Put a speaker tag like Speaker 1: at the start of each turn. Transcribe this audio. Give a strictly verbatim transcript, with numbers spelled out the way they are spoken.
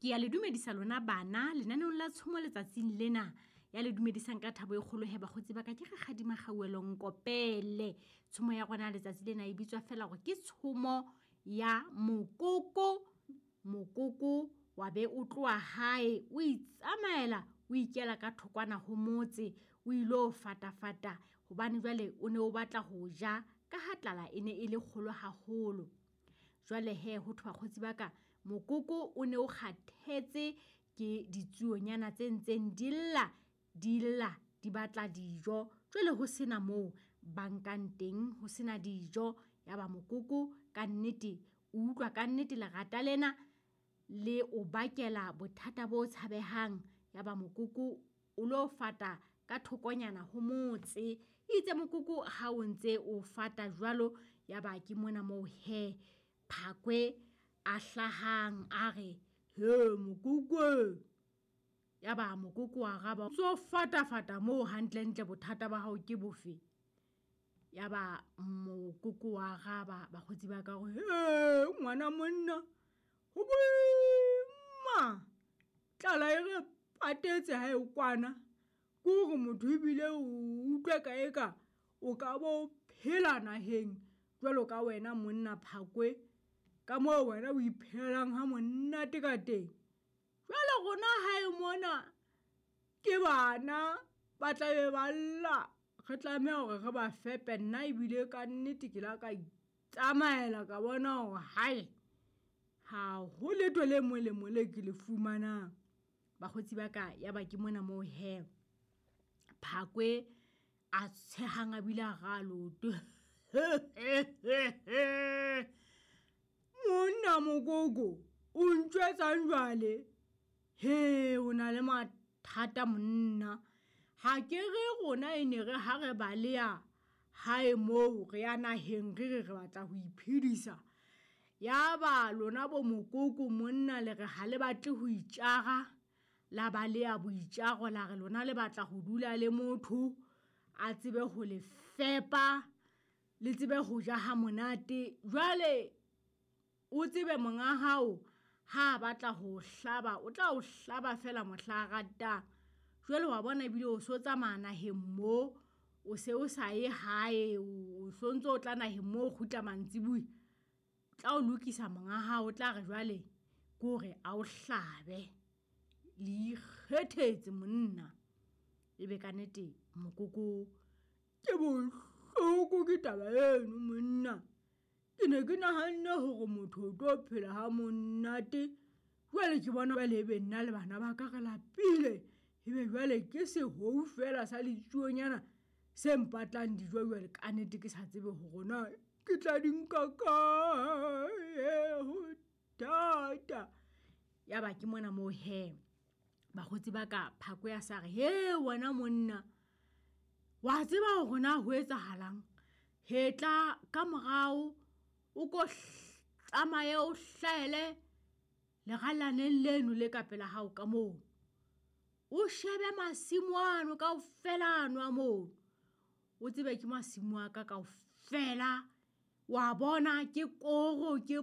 Speaker 1: Ke ya le dumedisa lona bana lenaneong la tshomo letsatsing lena. Ya le dumedisang ka thabo e kgolo he bakgotsi ba ka ke Rakgadi Makgauwelo Nkopele. Tshomo ya rona letsatsi lena e bitswa fela hore ke tshomo ya mokoko. Mokoko wa be o tloha hae, o itsamaela o ikela ka thokwana ho motse, o ilo fatafata hobane jwale o ne o batla ho ja ka ha tlala e ne e le kgolo haholo. Jwale he ho thwe bakgotsi ba ka, mokoko o ne o kgathetse ke ditsuonyana tse ntseng di lla, di lla di batla dijo. Jwale ho sena moo ba nkang teng, ho sena dijo. Ya ba mokoko kannete, o utlwa kannete lerata lena le o bakela bothata bo tshabehang. Ya ba mokoko o lo fata ka thokonyana ho motse. Itse mokoko ha o ntse o fata jwalo, ya ba ke mona moo hee Phakwe a hlahang a re, hee mokoko. Ya ba mokoko wa araba, o fata fata moo hantlentle bothata ba hao ke bofe? Ya ba mokoko wa araba bakgotsi ba ka hore, hee ngwana monna, ho boima. Tlala e re patetse ha e kwana. Ke hore motho ebile o utlwe ka eka o ka bo phela naheng jwalo ka wena monna Phakwe, ka moo wena o iphelelang ha monate ka teng. Jwale rona hae mona ke bana ba tla be ba lla, re tlameha hore re ba fepe. Nna ebile ka nnete ke la ka itsamaela ka bona hore hae ha ho letho le molemo le ke le fumanang. Bakgotsi ba ka, ya ba ke mona moo hee Phakwe a tshehang a bile a raha leoto. Monna mokoko, o ntjwetsang jwale? Hee, o na le mathata monna. Ha ke re rona e ne re ha re baleha hae moo re ya naheng re re re batla ho iphedisa. Ya ba lona bo mokoko monna le re ha le batle ho itjara, la baleha boitjaro la re lona le batla ho dula le motho a tsebe ho le fepa, le tsebe ho ja ha monate. Jwale o tsebe monga hao ha batla ho hlaba, o tla o hlaba fela mohla a ratang. Jwale wa bona ebile o so tsamaya naheng mo, o se o sa ye hae, o sontso o tla naheng mo o kgutla mantsibuya. Tla o lokisa monga hao, o tla re jwale ke hore a o hlabe. Le ikgethetse monna. Ebe kannete mokoko ke bohloko ke taba eno monna. Ke ne ke nahanne hore motho o tlo phela ha monate. Jwale ke bona jwale ebe nna le bana ba ka re lapile. Ebe jwale ke sehou fela sa ditsuonyana se mpatlang dijo jwale kannete ke sa tsebe hore na ke tla di nka kae, ho thata. Ya ba ke mona moo hee bakgotsi ba ka Phakwe a sa re, he wena monna, wa tseba hore na ho etsahalang? Hetla ka morao, o ko tsamaye o hlahele lerallaneng leno le ka pela hao ka moo. O shebe masimo ano kaofela ano a mono. O tsebe ke masimo a ka kaofela. Wa bona ke koro, ke